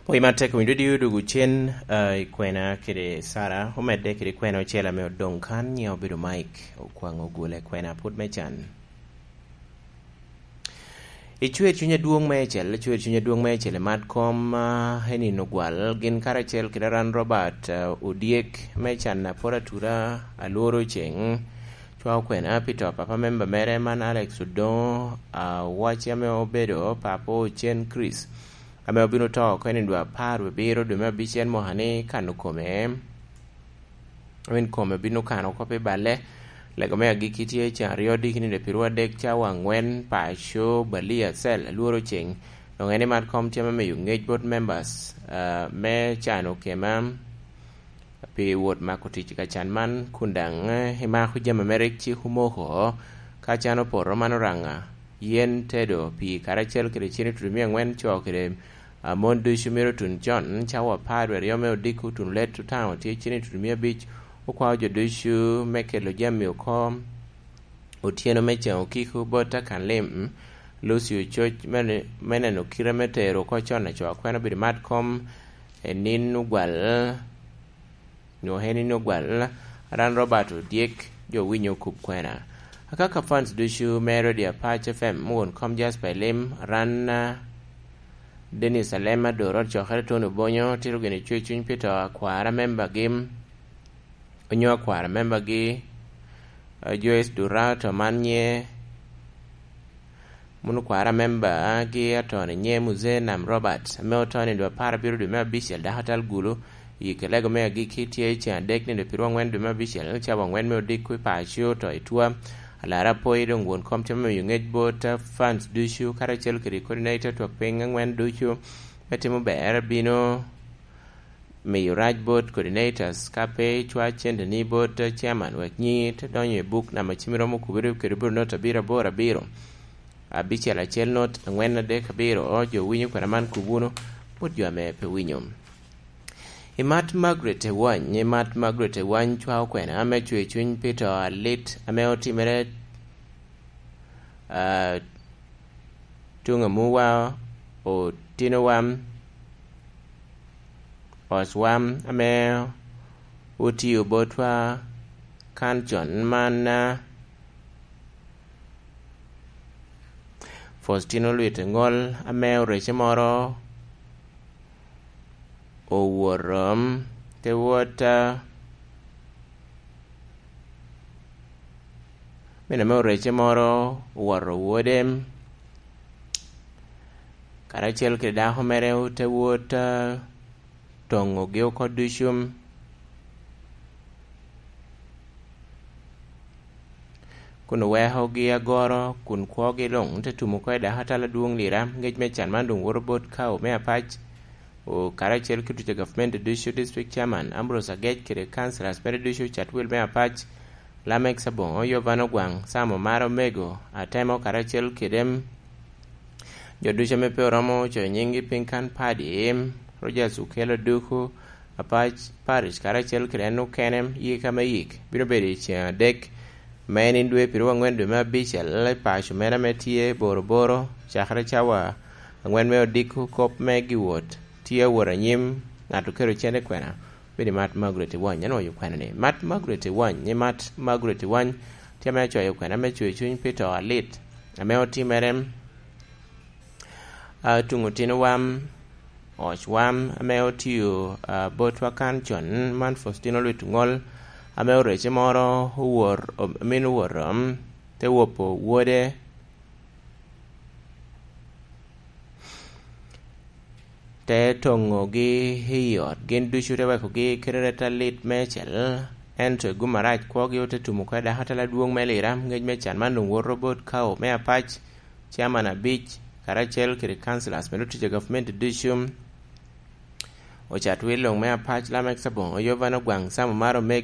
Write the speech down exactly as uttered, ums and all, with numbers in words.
Wi matek winyo di odugu cen, ah, i kwena kede Sara, omedde kede kwena ocel ame odoŋ kan, nyiŋe obedo Mike Okwaŋ Ogule, kwena put me can. I cwer cuny adwoŋ meicel, cwer cuny adwoŋ meicel i mat kom, ah, i nino gwal, gin karacel kede Aran Robert, ah, Odyek me can apor atura, alworo ceŋ, cwao kwena pi to papa memba mere man Alex Odoŋo, ah, wacci ame obedo papa ocen Chris, ame obino to oko i nino apar wie abiro dwe me abicel mwaka ni kano kome. Amin kome bino kano oko pi balle. Lego me agikki tye i can aryo diki nino piro adek cawa angwen, paco, balia, cel, alworo ceŋ. Doŋ en i mat kom tye me miyo ngec bot members, ah, me cano kema pi wot mako tic i kacan man, kun daŋ, eh, imako jami mere cik omoko, ka can opoto man oraŋa, yen tedo pii karacel kede cene tutumia angwen co kede a, mon ducu myero otun con, cawa apar wie aryo me odiko, otun let otaŋo tye cene tutumia abic, okwao jo ducu me kelo jami oko otyeno me ceŋ okiko bot akan lim, Lucio coc me, me neno kite me tero oko con aco akwena obedo mat kom, i nino gwal. Nwoŋo en in ogwal, aran Robert Odyek, jo winyo kop kwena. Akaka fans ducu me Radio Apac F M, won kom Jasper Elim, aran, ah, Dennis Alema, Dorot Cokere, Tony Obonyo, tito gini cwe cuny pi to akwara membagi, onyo akwara membagi, ah, Joyce Durato, man nye Mun okwara memba, ah, gi atoni nye Muzee Nam Robert, ame otoni dwe apar abiro dwe me abicel dako atal gulu, i kelego me agikki tye i ceŋ adek nino piro angwen dwe me abicel, cawa angwen me odiko i paco to i twa. Alara apoyi doŋ won kom tye me miyo ngec bot, ah, fans ducu, karacel kede coordinator twak piny angwen ducu, me timo ber bino miyo rac bot coordinators, ka pe icwa cente ni bot chairman, wek nyiŋi te donyo i buk namba cim romo kubiri kede buro not abiro aboro abiro, abicel acel not angwen adek abiro. O, jo winyo kwena man kub wunu, bot jo ame pe winyo. I mat Margaret Ewany, i mat Margaret Ewany cwao kwena ame cwe cuny pi to alit ame otimere, ah, tuŋ amuwa, otino wam, oc wam ame otio botwa kan con man, ah, Faustino Lwite Ŋol ame orece moro owoto, um, te wot, ah, min ame orece moro owoto wode, karacel kede dako mere te wot, ah, toŋogi oko ducu, kun owekogi agoro, kun kwogi luŋ te tumo oko i dako atal adwoŋ Lira. Ngec me can man doŋ woto bot Kao me Apac, o, karacel ki otuca gavumenti ducu, district chairman Ambrose Agec kede councillors mere ducu, Chatwil me Apac, Lamek Saboŋo, Yovan Ogwaŋ, Sam Omar Omego, Atemo, karacel kede jo ducu ame pe oromo coyo nyiŋgi piny kan padi, Rogers Okello Duku, Apac Parish, karacel kede en okene, yika me yik bino bedo i ceŋ adek me nino dwe piro angwen dwe me abicel i paco mere ame tye Boroboro, cakere cawa angwen me odiko. Kop me giwot tye awot anyim, ŋat oketo cente kwena, bedo i mat Margaret Ewany. Anwoŋo okwena ni, mat Margaret Ewany, ni mat Margaret Ewany tye ame acoyo kwena me cwe cuny pi to alit ame otimere, ah, tuŋ otino wam, oc wam ame otio, ah, botwa kan con, man Faustino Lwit Ŋol, ame orece moro owor-, om-, min owor-, om, te wopo wode, te toŋogi i ot, gin ducu te wekogi kede ret alit meicel, ento i gum arac kwogi ote tumo oko i dako atal adwoŋ me Lira. Ngec me can man doŋ woto bot Kao me Apac, chairman abic, karacel kede councillors me otic a gavumenti ducu, Ocatwil luŋ me Apac, Lamek Saboŋo, Yovan Ogwaŋ, Sam Omar Omego,